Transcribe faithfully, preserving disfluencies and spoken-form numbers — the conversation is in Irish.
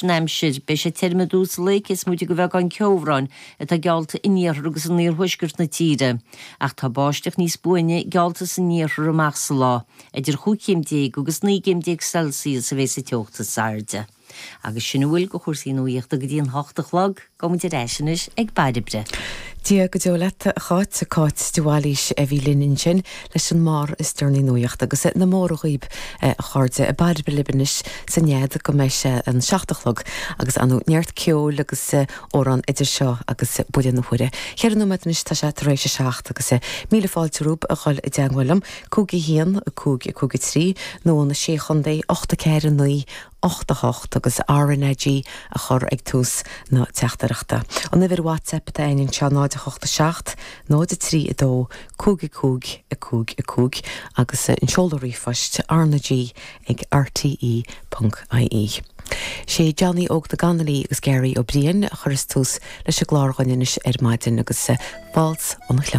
An aimsir, beidh sé tirim i dtús an lae cé is móide de bheagán ceobhráin atá geallta in iarthar agus in iarthuaisceart na tíre. Ach tá báisteach níos buaine geallta san iarthar amach sa lá, idir chúig chéim déag agus naoi gcéim déag Celsius a bheidh sa teocht is airde. Agus sin a bhfuil de chúrsaí nuachta go dtí an hocht a chlog, gabhfaidh muid ar ais anois ag Bairbre. Dia go deo leat a Cháit Cáit de Bhailís a bhí linn ansin leis an mbarr is deireanaí nuachta agus na móra dhaoibh a chairde Bairbre libh anois sa nead go mbeidh sé an seacht a chlog agus anu neart ceoil agus amhrán idir seo agus buille na huaire. Ceithre nóiméad anois tá sé tar éis a seacht agus míle fáilte romhaibh a dhul i dteagmháil liom cúig a haon cúig cúig trí nó na sé chontae ocht a ceathair naoi ocht a hocht agus RnaG a chur ag tús na teachtaireachta. An uimhir WhatsApp atá againn anseo náid a hocht a seacht, náid a trí a dó, cúig a cúig a cúig a cúig agus an seoladh ríomhphoist RnaG ag RTE.ie. Sé Johnny Óg na Ganalaí agus Gary Ó Briain a chuireas tús leis an gclár againn anois ar maidin agus Waltz an Chleann.